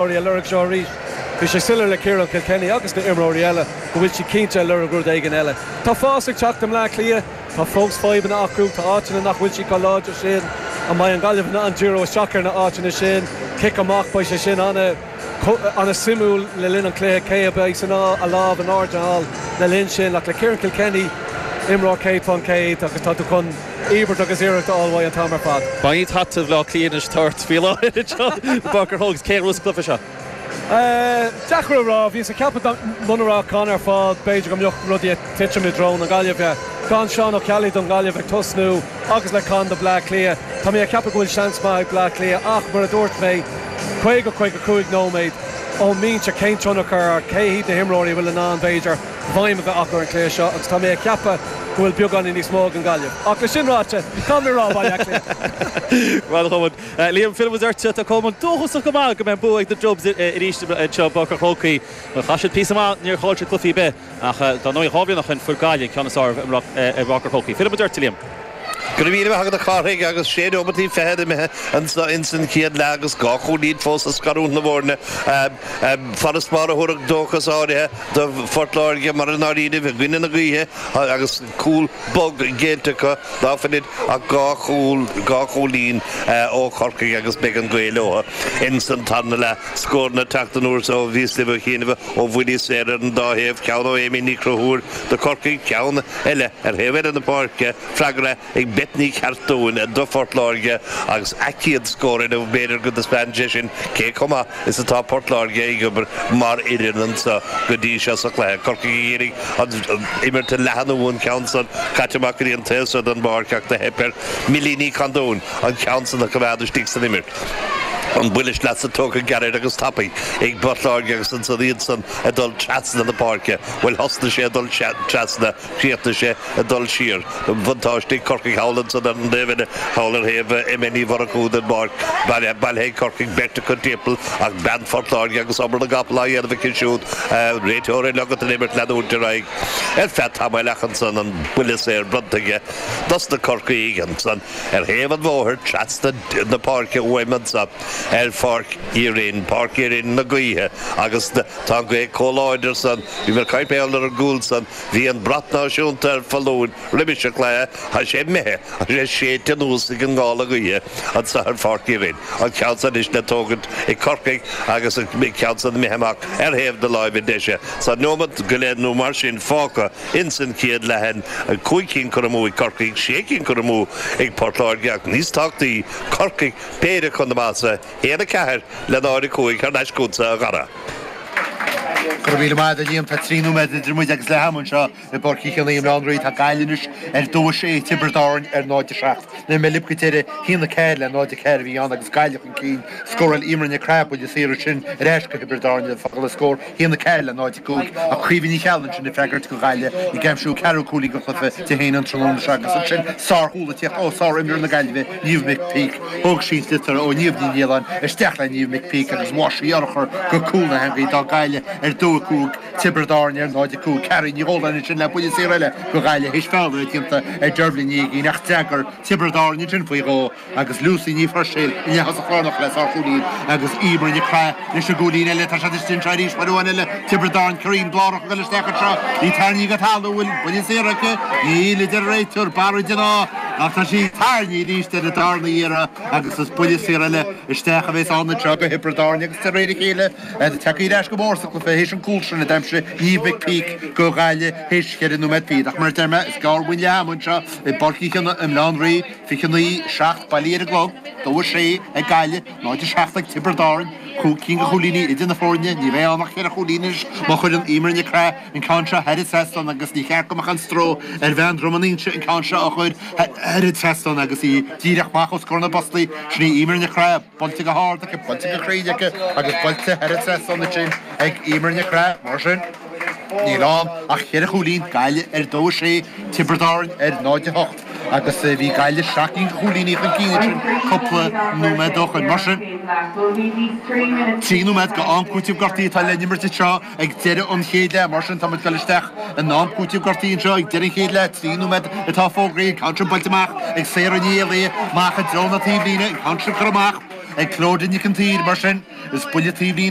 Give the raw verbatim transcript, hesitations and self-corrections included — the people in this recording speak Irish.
A lorg seo arís. Bhí sé soiléir le Ciarán Kilkenny agus na imreoirí eile go bhfuil siad cinnte ag lorg rud éigin eile. Tá fás ag teacht i mBleá Cliath, tá fós fadhbanna acu, tá áiteanna nach bhfuil siad chomh láidir sin. An mbeidh an Ghaillimh in ann díriú isteach ar na áiteanna sin? Cic amach, beidh sé sin ana an-suimiúil le linn an chluiche, cé a bheidh san a lámh in airde thall le linn sin, ach le Ciarán Kilkenny, imreoir céad faoin céad agus tá tú chun íobairt agus iarracht a fháil an t-am ar fad. Bain taitneamh le Cliath tort faoi láthair Barker Hogs cé rús cluiche seo. Deacair a rá, bhí mé ag ceapadh muna raibh Con ar fáil, b'fhéidir go mbeadh rudaí ag titim i dtreo na Gaillimhe. Gan Seán Ó Ceallaigh don Ghaillimh ag tosnú agus le Con do Bleá Cliath. Tá mé ag ceapadh go bhfuil seans maith ag Bleá Cliath, ach mar a dúirt mé, caoga caoga cúig nóiméad ón mbinse, cén tionchar, cé hiad na himreoirí a bhfuil in ann b'fhéidir feidhm a bheith acu ar an chluiche seo, agus tá mé ag ceapadh go bhfuil beagáinín níos mó ag an Ghaillimh. Ach le sin ráite, tá mé rá Baile Cliath. Liam Phil ort tá cumann dóchasach go maith go mbeidh bua ag na Dubs arís anseo Páirc an Chrócaigh. Chaith siad píosa maith, níor chaill siad cluiche ar bith, ach dá ndóigh dhá bhliain ó shin fuair Gaillimh ceann is fearr i bPáirc an Chrócaigh. Phil ort, Liam. Go raibh míle maith agat, a Chárthaigh, agus sé nóiméad fichead imithe anso insan chéad leath agus dhá chúilín fós ag scarúint na bhfoirne. Farasbarr a thabharfadh dóchas áirithe do Phort Láirge mar i ndáiríribh i gcoinne na gaoithe agus cúl bog géillte acu ná fuil ach dhá chúl dhá chúilín ó Chorcaigh agus beidh an ghaoth leo insan tarna leath. Scóranna ag teacht anuas ó bhíos libh ó chianaibh ó bhuillí saora ar an dá thaobh, ceann ó Amy Ní Chonchúir do Chorcaigh, ceann eile ar thaobh eile na páirce, freagra ag Beth Ní Cheartúin do Phort Láirge agus a céad scór inniu. B'fhéidir go dtaispeánann sé sin cé chomh maith is atá Port Láirge ag obair mar fhoireann anseo go dtí seo sa chluiche. Corcaigh ag iarraidh an imirt a leathnú, an ceann san caite amach go dtí an taobh seo den bpáirc ach do theip ar Millie Ní Chandúin an ceann san a choimeád istigh san imirt. An buille sleasa tógtha gairid agus tapaidh ag Port Láirge agus ansan iad san ag dul trasna na páirce. Bhuel, thosnaigh sé ag dul trasna, chríochnaigh sé ag dul siar. Buntáiste ag Corcaigh thall ansan ar an dtaobh eile, thall ar thaobh Emma Ní Mhurchú den bpáirc. Bailithe ag Corcaigh, beirt acu timpeall ach bean Phort Láirge agus obair na gcapall á dhéanamh aici siúd. Réiteoir ag ligean don imirt leanúint ar aghaidh ar feadh tamaill ach ansan an buille saor bronnta aige dos na Corcaígh ansan ar thaobh an bhóthair trasna na páirce uaim anso ar Pháirc Uí Rinn, Páirc Uí Rinn na gaoithe, agus tá an ghaoth chomh láidir san, bhí mé ag caint ar an gcúl san, bhí an brat náisiúnta ar foluain roimis an chluiche, tá sé imithe, tá sé séidte anuas ag an ngála gaoithe anso ar Pháirc Uí Rinn. An ceann san anois le tógaint ag Corcaigh agus an ceann san imithe amach ar thaobh na láimhe deise. Tá neomat go leith nó mar sin fágtha ins an chéad leath. Cúig cinn curtha amú ag Corcaigh, sé cinn curtha amú ag Port Láirge ach níos tábhachtaí, Corcaigh péire chun na masa, haon a ceathair le náid a cúig thar n-ais chugatsa, a Dhara. Go raibh míle maith agat, a Liam. Tá trí nóiméad idir muid agus leath ama anseo i bPáirc Uí Chionnaith i mBaile Átha an Rí. Tá Gaillimh anois ar dó a sé, Tiobraid Árann ar náid a seacht. Nuair mé libh go deireadh, haon a ceathair le náid a ceathair a bhí ann agus Gaillimh chun cinn. Scóráil Eimear Nic Craith buille saor ansin ar ais go Thiobraid Árann le fágáil an scór haon a ceathair le náid a cúig ach Caoimhe Ní Cheallaigh ansin ag freagairt do Ghaillimh ag aimsiú ceathrú cúilín den chluiche di féin an tráthnóna seo agus ansin sárchúl ag tíocht ó sár-imreoir na Gaillimhe, Niamh McPeake. Thóg sí an sliotar ó Niamh Ní Nialláin isteach le Niamh McPeake agus mhaith sí urchar go cúl na heangaí. D'fhág Gaillimh ar dó a cúig, Tiobraid Árann ar náid a cúig. Carrie Ní Dhóláin ansin le buille saor eile do Ghaillimh théis feall a bheith déanta ar Deirbhile Ní Aoigín ach d'fhreagair Tiobraid Árann ansin faoi dhó. Agus Lucy Ní Phuirséil ina leath-thosach lárnach le sárchúilín agus Eimear Nic Craith leis an gcúilín eile. Tá siad istigh anseo arís uair amháin eile. Tiobraid Árann, Ciarán Blárach ag dul isteach anseo. Í tarraingthe go talamh. Bhfuil buille saor aici? Níl, a deir an réiteoir. Barra den ádh ach tá sí tarraingthe arís ar an darna iarraidh agus is buille saor eile isteach a bheas ann anseo go Thiobraid Árann agus de réir a chéile tagtha ar ais go mór sa chluiche théis an cúl sin a d'aimsigh Niamh McPeake go Ghaillimh théis cheithre nóiméad fichead. Ach mar a deir mé, is gearr uainn leath ama anseo i bPáirc Uí Chionnaith i mBaile Átha an Rí. Fiche naoi, seacht, bailithe ar an gclog, dó a sé ag Gaillimh, náid a seacht ag Tiobraid Árann, cúig cinn de chúilíní idir na foirne, ní bheidh ann ach ceithre chúilín anois má chuireann Eimear Nic Craith an ceann seo thar an trasnán agus ní cheart go mbeadh aon stró ar bhean Dhrom an Inse an ceann seo a chur thar an trasnán agus í díreach amach os comhair na bpostaí. Sin í Eimear Nic Craith, buailte go hard aici, buailte go cruinn aici agus buailte thar an trasnán ansin ag Eimear Nic Craith. Mar sin, níl ann ach ceithre chúilín, Gaillimh ar dó a sé, Tiobraid Árann ar náid a hocht. Agus bhí Gaillimh seacht gcinn de chúilíní chun cinn ansin cúpla nóiméad ó shoin. Mar sin, trí nóiméad go am cúitimh gortaithe atá le n-imirt anseo ag deireadh an chéad leath. Mar sin, tá muid ag dul isteach in am cúitimh gortaithe anseo ag deireadh an chéad leath. Trí nóiméad atá fógraithe. An ceann sin buailte amach ag Sarah Ní Éalaithe amach i dtreo na taobhlíne. An ceann sin curtha amach. ag Clodagh Nic an tSaoir mar sin is buille taobhlíne